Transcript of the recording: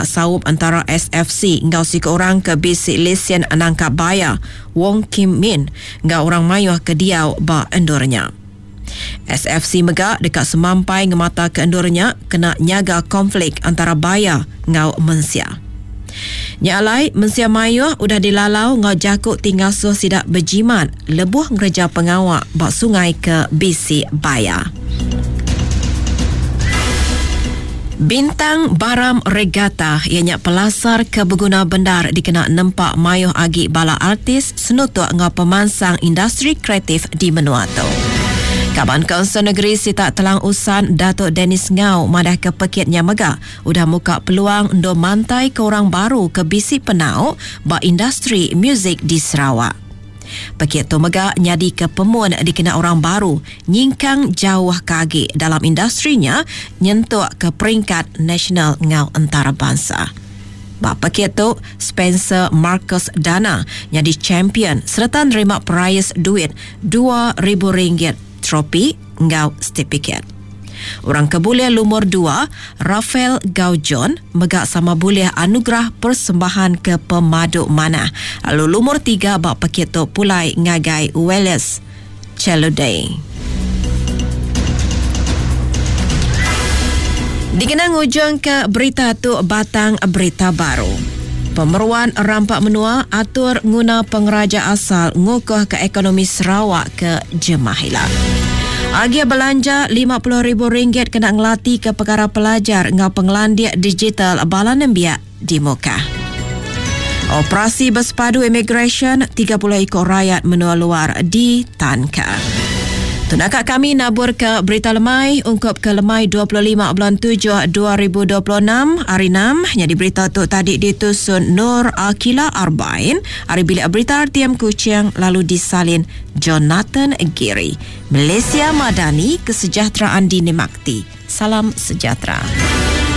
saup entara SFC enggau siku orang ke bisi lesen nangkap baya, Wong Kim Min, enggau orang mayuh ke diau ba endur nya. SFC mega deka semampai ngemataka endur nya kena nyaga konflik antara baya enggau mensia. Nya alai, mensia mayuh udah dilalau enggau jaku ti ngasuh sida bejimat lebuh ngereja pengawa ba sungai ke bisi baya. Bintang Baram Regatta iya nya pelasar ke beguna bendar dikena nempa mayuh agi bala artis senutuk enggau pemansang industri kreatif di menua tu. Kaban Kaunsil Negeri Sitak Telang Usan Datuk Dennis Ngau madahka pekit nya mega udah muka peluang endur mantaika orang baru ke bisi penau ba industri muzik di Sarawak. Pekit tu mega nyadika pemun dikena orang baru nyingkang jauh ke agi dalam industri nya nyentuk ke peringkat nasional enggau entarabansa. Ba pekit tu, Spencer Marcus Dana nyadi champion sereta nerima perais duit RM2,000, tropi enggau setipikit. Orang ke bulih lumur dua, Raphael Gaujon mega sama bulih anugerah persembahan ke pemadu manah lalu lumur tiga ba pekit tu pulai ngagai Wallace Cheludey. Dikena ngujungka berita tu batang berita baru. Pemeruan rampa menua atur nguna pengeraja asal ngukuhka ekonomi Sarawak ke jemah ila. Agih belanja RM50,000 kena ngelatika pekara pelajar enggau pengelandik digital bala nembiak di Mukah. Operasi Bersepadu Imigresen 30 iku rayat menua luar ditanka. Tu naka kami nabur ke berita lemai ungkup ke lemai 25 bulan 7 2026 hari 6 nyadi berita tu tadi ditusun Nur Akila Arbain ari bilik berita RTM Kuching lalu disalin Jonathan Giri. Malaysia Madani kesejahteraan dinikmati. Salam sejahtera.